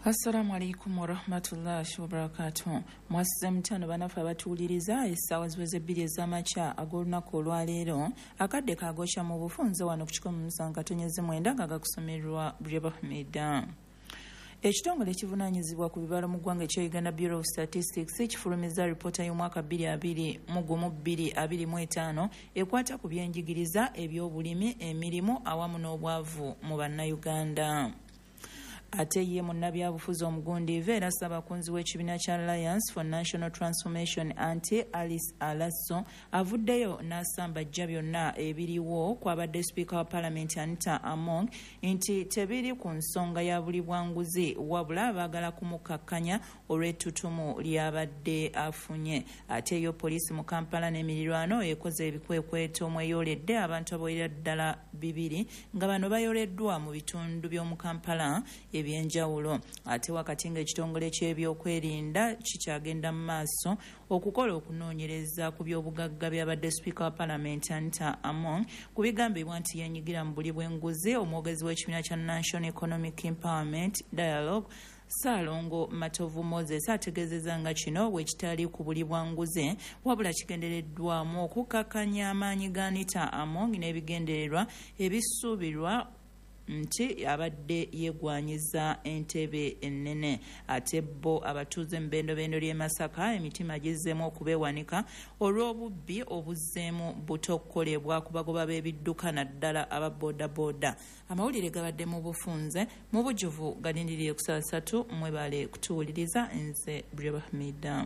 Assalamu alaikum warahmatullahi wabarakatuh. Mwasize mutano banafe abatuwuliriza, essaawa ziweze 2 ez'amakya ag'olunaku olwaleero. Akadde kagokya mu bufunze wano ku 107.9 nga gakusomerwa Breba Hamida. Ekitongole ekivunaanyizibwa ku bibalo mu ggwanga ekya Uganda Bureau of Statistics kifulumizza alipoota y'omwaka 2021-2025 ekwata ku byenjigiriza, ebyobulimi, emirimu awamu n'obwavu mu Bannayuganda. Ate ye munnabyabufuzi omugundiivu era ssabakunzi w'ekibiina kya Alliance for National Transformation anti Alice Alaso avuddeyo n'asambajja byonna ebiriwo kwabadde sipiika wa Palamenti Anita Among nti tebiri ku nsonga ya buli bwanguzi, wabula baagala kumukakkanya olw'ettutumu ly'abadde afunye. Ate yo poliisi mu Kampala n'emirirwano ekoze ebikwekweto mweyoledde abantu abawerera ddala 2 nga bano bayoleddwa mu bitundu by'omu Kampala ebyenjawulo. Ate wakati ng'ekitongole ky'ebyokwerinda kikyagenda mu maaso okukola okunoonyereza ku by'obugagga by'abadde sipiika wa Palamenti Anita Among ku bigambibwa nti yenyigira mu buli bw'enguzi, omwogezi w'ekibiina kya National Economic Empowerment Dialogue Ssaalongo Matovu Moses ategeezezza nga kino bwe kitali ku buli bwa nguzi, wabula kigendereddwamu okukakkanya amaanyi ga Anita Among n'ebigendererwa ebisuubirwa nti abadde yeegwanyiza entebe ennene. Ate bo abatuuze mu bendobendo ly'e Masaka emitima gizzeemu okubeewanika olw'obubbi obuzzeemu buto okukolebwa ku bagoba b'ebidduka naddala aba boodabooda. Amawulire gabadde mu bufunze mu bujjuvu galindirire ku saa 3. Mwebale kutuwuliriza, nze Breba Hamida.